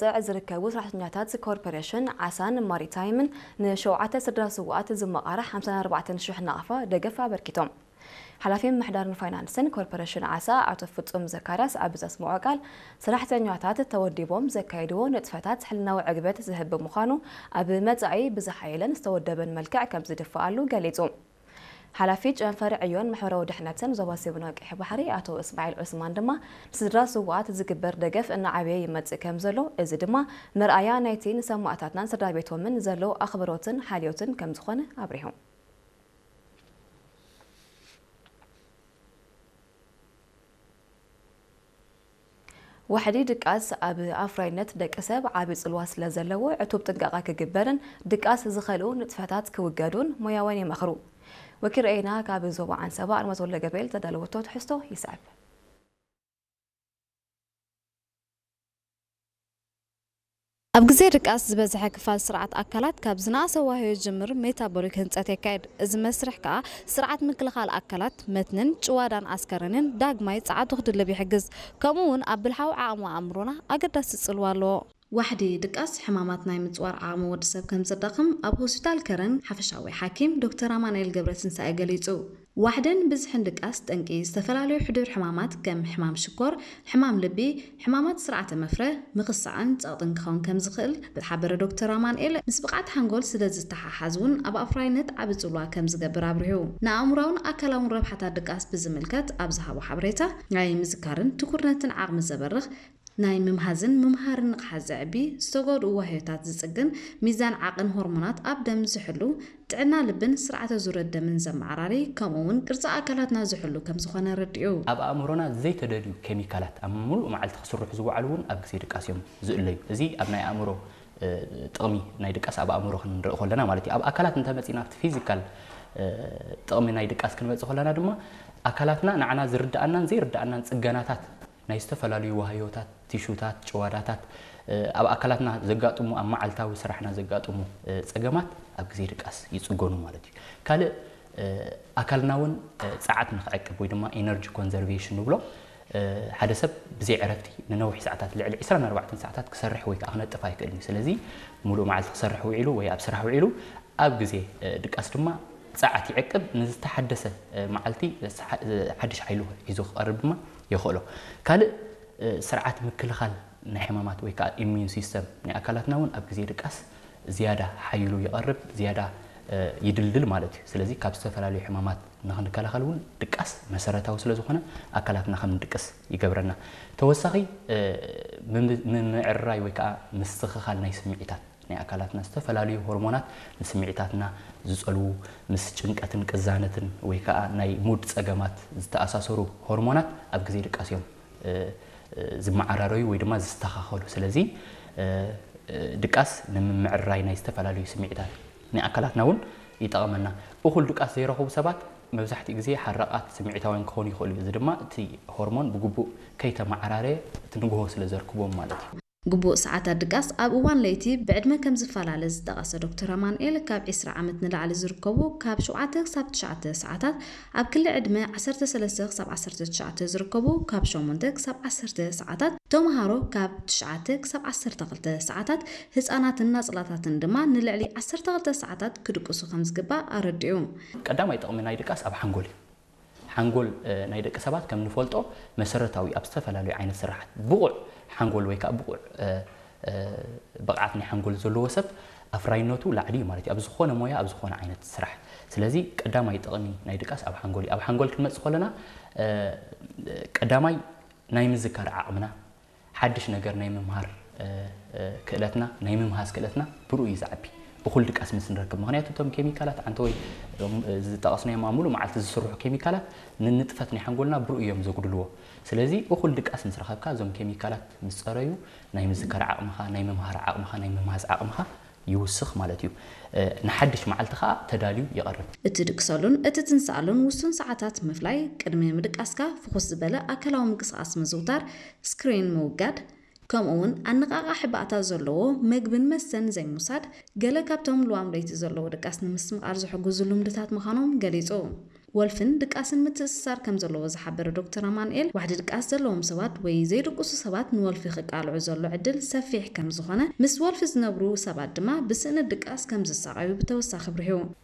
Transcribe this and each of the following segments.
ጸዕ ዝርከቡ ሰራሕተኛታት ኮርፖሬሽን ዓሳን ማሪታይምን ንሸውዓተ ስድራ ስውኣት ዝመቓረ ሓምሳን ኣርባዕተን ሽሕ ናቕፋ ደገፍ ኣበርኪቶም። ሓላፊ ምምሕዳርን ፋይናንስን ኮርፖሬሽን ዓሳ ኣቶ ፍጹም ዘካርያስ ኣብ ዘስምዖ ቃል፣ ሰራሕተኛታት ተወዲቦም ዘካየድዎ ንጥፈታት ሕልናዊ ዕግበት ዝህብ ብምዃኑ፣ ኣብ መጻኢ ብዝሓየለን ዝተወደበን መልክዕ ከም ዝድፍኣሉ ገሊጹ። ሓላፊ ጨንፈር ዕዮን ማሕበራዊ ድሕነትን ዞባ ሰሜን ቀይሕ ባሕሪ ኣቶ እስማዒል ዑስማን ድማ፣ ንስድራ ስውኣት ዝግበር ደገፍ እናዓበየ ይመጽእ ከም ዘሎ፣ እዚ ድማ መርኣያ ናይቲ ንሰማእታትናን ስድራ ቤቶምን ዘሎ ኣኽብሮትን ሓልዮትን ከም ዝኾነ ኣብሪሁ። ዋሕዲ ድቃስ ኣብ ኣፍራይነት ደቂ ሰብ ዓቢ ጽልዋ ስለ ዘለዎ፣ ዕቱብ ጥንቃቐ ክግበርን ድቃስ ዝኸልኡ ንጥፈታት ክውገዱን ሞያውያን ይመኽሩ። ወኪል ርኤና ካብ ዞባ ዓንሰባ ኣርመት ወልደ ገብርኤል ዘዳለወቶ ትሕዝቶ ይስዕብ። ኣብ ግዜ ድቃስ ዝበዝሐ ክፋል ስርዓት ኣካላት ካብ ዝነኣሰ ዋህዮ ዝጅምር ሜታቦሊክ ህንጸት የካይድ። እዚ መስርሕ ከኣ ስርዓት ምክልኻል ኣካላት መትንን ጭዋዳን ኣስከረንን ዳግማይ ጸዓቱ ክድልብ ይሕግዝ። ከምኡ እውን ኣብ ብልሓዊ ዓቕሚ ኣእምሮና ኣገዳሲ ጽልዋ ኣለዎ። ዋሕዲ ድቃስ ሕማማት ናይ ምጽዋር ዓቕሚ ወዲ ሰብ ከም ዘዳኽም ኣብ ሆስፒታል ከረን ሓፈሻዊ ሓኪም ዶክተር ኣማኑኤል ገብረትንሳኤ ገሊጹ። ዋሕድን ብዝሕን ድቃስ ጠንቂ ዝተፈላለዩ ሕዱር ሕማማት ከም ሕማም ሽኮር፣ ሕማም ልቢ፣ ሕማማት ስርዓተ መፍረ፣ ምኽሳዕን ጸቕጥን ክኸውን ከም ዝኽእል ዝሓበረ ዶክተር ኣማኑኤል፣ ምስ ብቕዓት ሓንጎል ስለ ዝተሓሓዝ እውን ኣብ ኣፍራይነት ዓቢ ጽልዋ ከም ዝገብር ኣብሪሁ። ንኣእምሮኣውን ኣካላውን ረብሓታት ድቃስ ብዝምልከት ኣብ ዝሃቦ ሓበሬታ፣ ናይ ምዝካርን ትኩርነትን ዓቕሚ ዘበርኽ፣ ናይ ምምሃዝን ምምሃርን ንቕሓት ዘዕቢ፣ ዝተጎድኡ ዋህዮታት ዝጽግን፣ ሚዛን ዓቕን ሆርሞናት ኣብ ደም ዝሕሉ፣ ጥዕና ልብን ስርዓተ ዙረት ደምን ዘመዓራሪ፣ ከምኡ እውን ቅርጺ ኣካላትና ዝሕሉ ከም ዝኾነ ኣረዲኡ። ኣብ ኣእምሮና ዘይተደልዩ ኬሚካላት ኣብ ምሉእ መዓልቲ ክስርሑ ዝወዓሉ እውን ኣብ ግዜ ድቃስ እዮም ዝእለዩ። እዚ ኣብ ናይ ኣእምሮ፣ እ፣ ጥቕሚ ናይ ድቃስ ኣብ ኣእምሮ ክንርኢ ከለና ማለት እዩ። ኣብ ኣካላት እንተመጺና ኣብቲ ፊዚካል፣ እ፣ ጥቕሚ ናይ ድቃስ ክንመጽእ ከለና ድማ ኣካላትና ንዓና ዝርድኣናን ዘይርድኣናን ጽገናታት ናይ ዝተፈላለዩ ዋህዮታት፣ ቲሹታት፣ ጭዋዳታት፣ እ፣ ኣብ ኣካላትና ዘጋጥሙ፣ ኣብ መዓልታዊ ስራሕና ዘጋጥሙ፣ እ፣ ጸገማት ኣብ ግዜ ድቃስ ይጽገኑ ማለት እዩ። ካልእ፣ እ፣ ኣካልና እውን፣ እ፣ ጸዓት ንኽዕቅብ ወይ ድማ ኤነርጂ ኮንዘርቬሽን ንብሎ፣ እ፣ ሓደ ሰብ ብዘይ ዕረፍቲ ንነዊሕ ሰዓታት፣ ልዕሊ ዕስራን ኣርባዕተን ሰዓታት ክሰርሕ ወይ ከዓ ክነጥፍ ኣይክእልን እዩ። ስለዚ፣ ሙሉእ መዓልቲ ክሰርሕ ውዒሉ ወይ ኣብ ስራሕ ውዒሉ፣ ኣብ ግዜ፣ እ፣ ድቃስ ድማ ጸዓት ይዕቅብ፣ ንዝተሓደሰ፣ እ፣ መዓልቲ ሓ-፣ ሓድሽ ሓይሊ ሒዙ ክቐርብ ድማ የኽእሎ። ካልእ፣ እ፣ ስርዓት ምክልኻል ናይ ሕማማት ወይ ከዓ ኢሚዩን ሲስተም ናይ ኣካላትና እውን ኣብ ግዜ ድቃስ ዝያዳ ሓይሉ ይቐርብ፣ ዝያዳ፣ እ፣ ይድልድል ማለት እዩ። ስለዚ ካብ ዝተፈላለዩ ሕማማት ንኽንከላኸል እውን ድቃስ መሰረታዊ ስለ ዝኾነ ኣካላትና ከም ንድቅስ ይገብረና። ተወሳኺ፣ እ፣ ምም-፣ ምምዕርራይ ወይ ከዓ ምስትኽኻል ናይ ስምዒታት ናይ ኣካላትና ዝተፈላለዩ ሆርሞናት ንስምዒታትና ዝጸልዉ፣ ምስ ጭንቀትን ቅዛነትን ወይ ከዓ ናይ ሙድ ጸገማት ዝተኣሳሰሩ ሆርሞናት ኣብ ግዜ ድቃስ እዮም፣ እ፣ እ፣ ዝመዓራረዩ ወይ ድማ ዝስተኻኸሉ። ስለዚ፣ እ፣ እ፣ ድቃስ ንምምዕራይ ናይ ዝተፈላለዩ ስምዒታት ናይ ኣካላትና እውን ይጠቕመና። እኹል ድቃስ ዘይረኸቡ ሰባት መብዛሕትኡ ግዜ ሓራቓት ስምዒታውያን ክኾኑ ይኽእሉ እዩ። እዚ ድማ እቲ ሆርሞን ብግቡእ ከይተመዓራረየ እቲ ንግሆ ስለ ዘርክቦም ማለት እዩ። ግቡእ ሰዓታት ድቃስ ኣብ እዋን ለይቲ ብዕድመ ከም ዝፈላለ ዝጠቐሰ ዶክተር ኣማኑኤል፣ ካብ ዕስራ ዓመት ንላዕሊ ዝርከቡ ካብ ሸውዓተ ክሳብ ትሽዓተ ሰዓታት፣ ኣብ ክሊ ዕድመ ዓሰርተ ሰለስተ ክሳብ ዓሰርተ ትሽዓተ ዝርከቡ ካብ ሸሞንተ ክሳብ ዓሰርተ ሰዓታት፣ ተምሃሮ ካብ ትሽዓተ ክሳብ ዓሰርተ ክልተ ሰዓታት፣ ህጻናትን ናጽላታትን ድማ ንልዕሊ ዓሰርተ ክልተ ሰዓታት ክድቅሱ ከም ዝግባእ ኣረዲኡ። ቀዳማይ ጥቕሚ ናይ ድቃስ ኣብ ሓንጎል እዩ። ሓንጎል፣ እ፣ ናይ ደቂ ሰባት ከም ንፈልጦ መሰረታዊ ኣብ ዝተፈላለዩ ዓይነት ስራሓት ብቑዕ ሓንጎል ወይ ከዓ ብቑዕ፣ እ፣ እ፣ ብቕዓት ናይ ሓንጎል ዘለዎ ሰብ ኣፍራይነቱ ላዕሊ እዩ ማለት እዩ፣ ኣብ ዝኾነ ሞያ፣ ኣብ ዝኾነ ዓይነት ስራሕ። ስለዚ ቀዳማይ ጥቕሚ ናይ ድቃስ ኣብ ሓንጎል እዩ። ኣብ ሓንጎል ክንመጽእ ከለና፣ እ፣ ቀዳማይ ናይ ምዝካር ዓቕምና፣ ሓድሽ ነገር ናይ ምምሃር፣ እ፣ እ፣ ክእለትና፣ ናይ ምምሃዝ ክእለትና ብርኡ እዩ ዝዓቢ። እኹል ድቃስ ምስ ንረክብ። ምኽንያቱ እቶም ኬሚካላት ዓንተ ወይ እዞም፣ እ፣ ዝጠቐስናዮም ኣብ ሙሉእ መዓልቲ ዝስርሑ ኬሚካላት ንንጥፈት ናይ ሓንጎልና ብርኡ እዮም ዘጉድልዎ። ስለዚ እኹል ድቃስ ምስ ረኸብካ እዞም ኬሚካላት ምስ ጸረዩ ናይ ምዝካር ዓቕምኻ፣ ናይ ምምሃር ዓቕምኻ፣ ናይ ምምሃዝ ዓቕምኻ ይውስኽ ማለት እዩ። እ፣ ንሓድሽ መዓልቲ ኸኣ ተዳልዩ ይቐርብ። እትድቅሰሉን እትትንስኣሉን ውሱን ሰዓታት ምፍላይ፣ ቅድሚ ምድቃስካ ፍኹስ ዝበለ ኣካላዊ ምንቅስቓስ ምዝውታር፣ ስክሪን ምውጋድ፣ ከምኡ እውን ኣነቓቓሒ ባእታ ዘለዎ መግብን መስተን ዘይምውሳድ፣ ገለ ካብቶም ልዋም ለይቲ ዘለዎ ድቃስ ንምስትምቓር ዝሕግዙ ልምድታት ምዃኖም ገሊጹ። ወልፍን ድቃስን ምትእስሳር ከም ዘለዎ ዝሓበረ ዶክተር ኣማኑኤል፣ ዋሕዲ ድቃስ ዘለዎም ሰባት ወይ ዘይድቅሱ ሰባት ንወልፊ ክቃልዑ ዘሎ ዕድል ሰፊሕ ከም ዝኾነ፣ ምስ ወልፊ ዝነብሩ ሰባት ድማ ብስእነት ድቃስ ከም ዝሳቐዩ ብተወሳኺ ኣብሪሁ።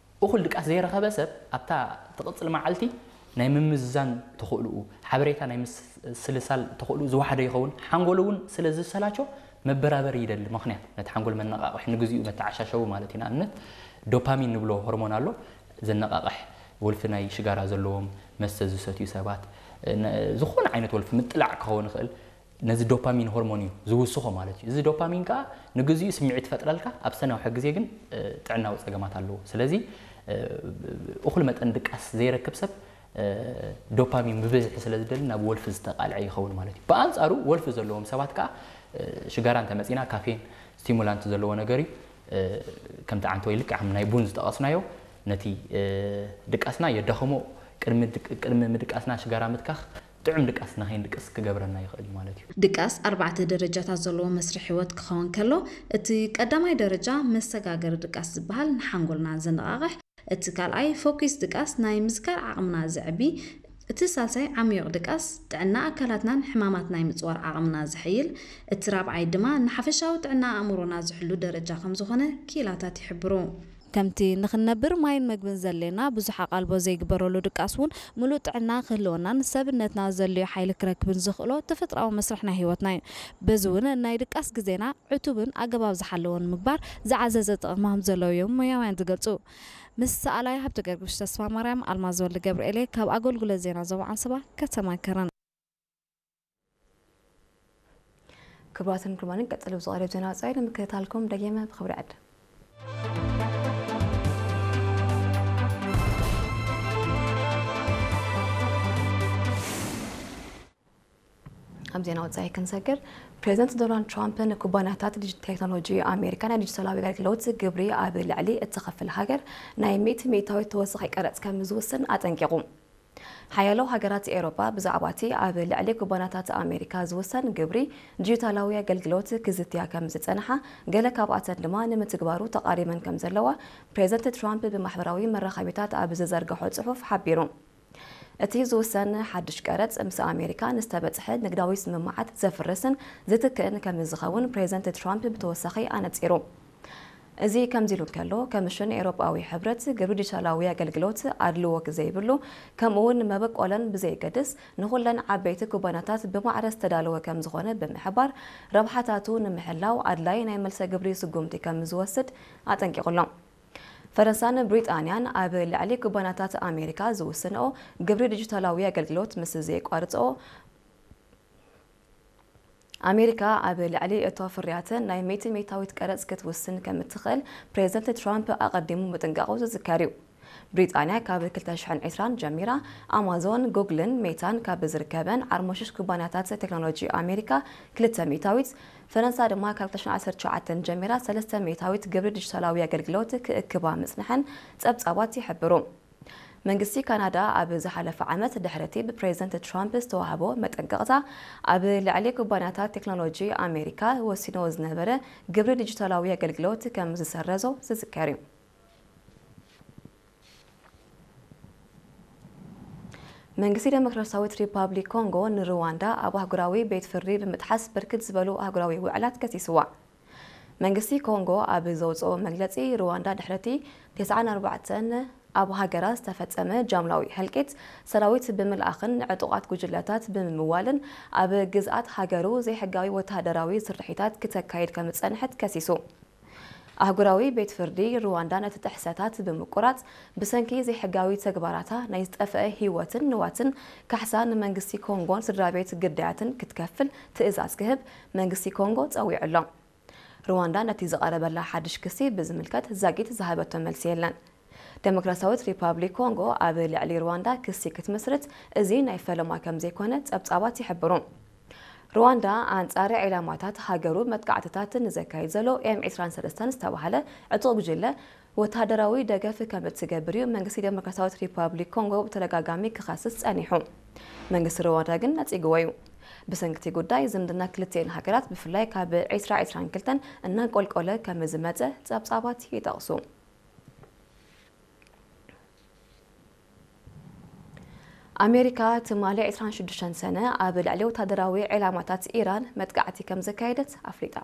እኹል ድቃስ ዘይረኸበ ሰብ ኣብታ ትቕጽል መዓልቲ ናይ ምምዝዛን ተኽእልኡ፣ ሓበሬታ ናይ ምስልሳል ተኽእልኡ ዝወሓደ ይኸውን። ሓንጎሉ እውን ስለ ዝሰላቾ መበራበሪ ይደሊ። ምኽንያት ነቲ ሓንጎል መነቓቕሒ ንግዚኡ መተዓሻሸዊ ማለት እዩ። ንኣብነት ዶፓሚን ንብሎ ሆርሞን ኣሎ፣ ዘነቓቕሕ ወልፊ ናይ ሽጋራ ዘለዎም፣ መስተ ዝሰትዩ ሰባት፣ ነ-፣ ዝኾነ ዓይነት ወልፊ ምጥላዕ ክኸውን ይኽእል። ነዚ ዶፓሚን ሆርሞን እዩ ዝውስኾ ማለት እዩ። እዚ ዶፓሚን ከኣ ንግዚኡ ስምዒት ይፈጥረልካ፣ ኣብ ሰናውሒ ግዜ ግን፣ እ፣ ጥዕናዊ ጸገማት ኣለዎ። ስለዚ፣ እ፣ እኹል መጠን ድቃስ ዘይረክብ ሰብ፣ እ፣ ዶፓሚን ብብዝሒ ስለ ዝደሊ ናብ ወልፊ ዝተቃልዐ ይኸውን ማለት እዩ። ብኣንጻሩ ወልፊ ዘለዎም ሰባት ከኣ፣ እ፣ ሽጋራ እንተመጺና ካፌን፣ ስቲሙላንት ዘለዎ ነገር እዩ። እ፣ ከምቲ ዓንተ ወይ ልክዕ ከም ናይ ቡን ዝጠቐስናዮ ነቲ፣ እ፣ ድቃስና የዳኽሞ። ቅድሚ ድቅ-፣ ቅድሚ ምድቃስና ሽጋራ ምትካኽ ጥዑም ድቃስ ንኸይንድቅስ ክገብረና ይኽእል እዩ ማለት እዩ። ድቃስ ኣርባዕተ ደረጃታት ዘለዎ መስርሕ ህይወት ክኸውን ከሎ፣ እቲ ቀዳማይ ደረጃ መሰጋገሪ ድቃስ ዝበሃል ንሓንጎልና ዘነቓቕሕ፣ እቲ ካልኣይ ፎኪስ ድቃስ ናይ ምዝካር ዓቕምና ዘዕቢ፣ እቲ ሳልሳይ ዓሚዩቕ ድቃስ ጥዕና ኣካላትናን ሕማማት ናይ ምጽዋር ዓቕምና ዘሐይል፣ እቲ ራብዓይ ድማ ንሓፈሻዊ ጥዕና ኣእምሮና ዝሕሉ ደረጃ ከም ዝኾነ ክኢላታት ይሕብሩ። ከምቲ ንኽንነብር ማይን መግብን ዘድልየና ብዙሕ ኣቓልቦ ዘይግበረሉ ድቃስ እውን ምሉእ ጥዕና ክህልወናን ሰብነትና ዘድልዮ ሓይሊ ክረክብን ዘኽእሎ ተፈጥሮኣዊ መስርሕ ናይ ህይወትና እዩ። በዚ እውን ናይ ድቃስ ግዜና ዕቱብን ኣገባብ ዝሓለወን ምግባር ዝዓዘዘ ጥቕሚ ከም ዘለዎ እዮም ሞያውያን ዝገልጹ። ምስ ሰኣላይ ሃብተ ገርግሽ ተስፋ ማርያም፣ ኣልማዝ ወልደ ገብርኤል ካብ ኣገልግሎት ዜና ዞባ ዓንሰባ ከተማ ከረን። ክቡራትን ክቡራንን፣ ቀጽሎ ብዝቐርብ ዜና ወጻኢ ንምክትታልኩም ደጊመ ብኽብሪ ዕድም። ኣብ ዜና ወጻኢ ክንሰግር፣ ፕሬዚደንት ዶናልድ ትራምፕ ንኩባንያታት ዲጂ-፣ ቴክኖሎጂ ኣሜሪካ ናይ ዲጂታላዊ ኣገልግሎት ግብሪ ኣብ ልዕሊ እትኸፍል ሃገር ናይ ሚእቲ ሚእታዊት ተወሳኺ ቀረጽ ከም ዝውስን ኣጠንቂቑ። ሓያሎ ሃገራት ኤውሮጳ ብዛዕባ እቲ ኣብ ልዕሊ ኩባንያታት ኣሜሪካ ዝውሰን ግብሪ ዲጂታላዊ ኣገልግሎት ክዝትያ ከም ዝጸንሓ፣ ገለ ካብኣተን ድማ ንምትግባሩ ተቓሪበን ከም ዘለዋ ፕሬዚደንት ትራምፕ ብማሕበራዊ መራኸቢታት ኣብ ዝዘርግሖ ጽሑፍ ሓቢሩ። እቲ ዝውሰን ሓድሽ ቀረጽ ምስ ኣሜሪካ ንዝተበጽሐ ንግዳዊ ስምምዓት ዘፍርስን ዝትክእን ከም ዝኸውን ፕሬዚደንት ትራምፕ ብተወሳኺ ኣነጺሩ። እዚ ከምዚ ኢሉ እንከሎ፣ ከምሽን ኤውሮጳዊ ሕብረት ግብሪ ዲጂታላዊ ኣገልግሎት ኣድልዎ ዘይብሉ፣ ከምኡውን መበቆለን ብዘይገድስ ንኹለን ዓበይቲ ኩባንያታት ብማዕረ ዝተዳለወ ከም ዝኾነ ብምሕባር፣ ረብሓታቱ ንምሕላው ኣድላይ ናይ መልሰ ግብሪ ስጉምቲ ከም ዝወስድ ኣጠንቂቑ ኣሎ። ፈረንሳን ብሪጣንያን ኣብ ልዕሊ ኩባንያታት ኣሜሪካ ዝውስንኦ ግብሪ ዲጂታላዊ ኣገልግሎት ምስ ዘየቋርጽኦ፣ ኣሜሪካ ኣብ ልዕሊ እቶ ፍርያተን ናይ ሚእቲ ሚእታዊት ቀረጽ ክትውስን ከም እትኽእል ፕሬዚደንት ትራምፕ ኣቐዲሙ ምጥንቃቑ ዝዝከር እዩ። ብሪጣንያ ካብ ክልተ ሽሕን ዕስራን ጀሚራ ኣማዞን፣ ጉግልን ሜታን ካብ ዝርከበን ዓርሞሽሽ ኩባንያታት ቴክኖሎጂ ኣሜሪካ ክልተ ሚእታዊት፣ ፈረንሳ ድማ ካብ ክልተ ሽሕን ዓሰርተ ትሽዓተን ጀሚራ ሰለስተ ሚእታዊት ግብሪ ዲጂታላዊ ኣገልግሎት ክእክባ ምጽንሐን ጸብጻባት ይሕብሩ። መንግስቲ ካናዳ ኣብ ዝሓለፈ ዓመት ድሕሪ እቲ ብፕሬዚደንት ትራምፕ ዝተዋህቦ መጠንቀቕታ ኣብ ልዕሊ ኩባንያታት ቴክኖሎጂ ኣሜሪካ ወሲንዎ ዝነበረ ግብሪ ዲጂታላዊ ኣገልግሎት ከም ዝሰረዞ ዝዝከር እዩ። መንግስቲ ዴሞክራሲያዊት ሪፓብሊክ ኮንጎ ንሩዋንዳ ኣብ ኣህጉራዊ ቤት ፍርዲ ብምጥሓስ ብርክት ዝበሉ ኣህጉራዊ ውዕላት ከሲስዋ። መንግስቲ ኮንጎ ኣብ ዘውፅኦ መግለፂ፣ ሩዋንዳ ድሕሪ እቲ ተስዓን ኣርባዕተን ኣብ ሃገራ ዝተፈፀመ ጃምላዊ ህልቂት ሰራዊት ብምልኣኽን ንዕጡቓት ጉጅለታት ብምምዋልን ኣብ ግዝኣት ሃገሩ ዘይሕጋዊ ወተሃደራዊ ስርሒታት ክተካይድ ከም ዝፀንሐት ከሲሱ። ኣህጉራዊ ቤት ፍርዲ ሩዋንዳ ነቲ ጥሕሰታት ብምቁራጽ፣ ብሰንኪ ዘይሕጋዊ ተግባራታ ናይ ዝጠፍአ ህይወትን ንዋትን ካሕሳ ንመንግስቲ ኮንጎን ስድራ ቤት ግዳያትን ክትከፍል ትእዛዝ ክህብ መንግስቲ ኮንጎ ጸዊዑ ኣሎ። ሩዋንዳ ነቲ ዝቐረበላ ሓድሽ ክሲ ብዝምልከት ዛጊት ዝሃበቶ መልሲ የለን። ዴሞክራሲያዊት ሪፓብሊክ ኮንጎ ኣብ ልዕሊ ሩዋንዳ ክሲ ክትምስርት እዚ ናይ ፈለማ ከም ዘይኮነ ጸብጻባት ይሕብሩ። ሩዋንዳ ኣንጻር ዒላማታት ሃገሩ መጥቃዕትታት ንዘካይድ ዘሎ ኤም ዕስራን ሰለስተን ዝተባህለ ዕጡቕ ጉጅለ ወተሃደራዊ ደገፍ ከም እትገብር እዩ መንግስቲ ዴሞክራሲያዊት ሪፓብሊክ ኮንጎ ብተደጋጋሚ ክኸስስ ጸኒሑ። መንግስቲ ሩዋንዳ ግን ነጺግዎ እዩ። ብሰንኪ እቲ ጉዳይ ዝምድና ክልቲኤን ሃገራት ብፍላይ ካብ ዕስራ ዕስራን ክልተን እናንቆልቆለ ከም ዝመጸ ጸብጻባት ይጠቕሱ። ኣሜሪካ ትማሊ ዕስራን ሽዱሽተን ሰነ ኣብ ልዕሊ ወታደራዊ ዕላማታት ኢራን መጥቃዕቲ ከም ዘካየደት ኣፍሊጣ።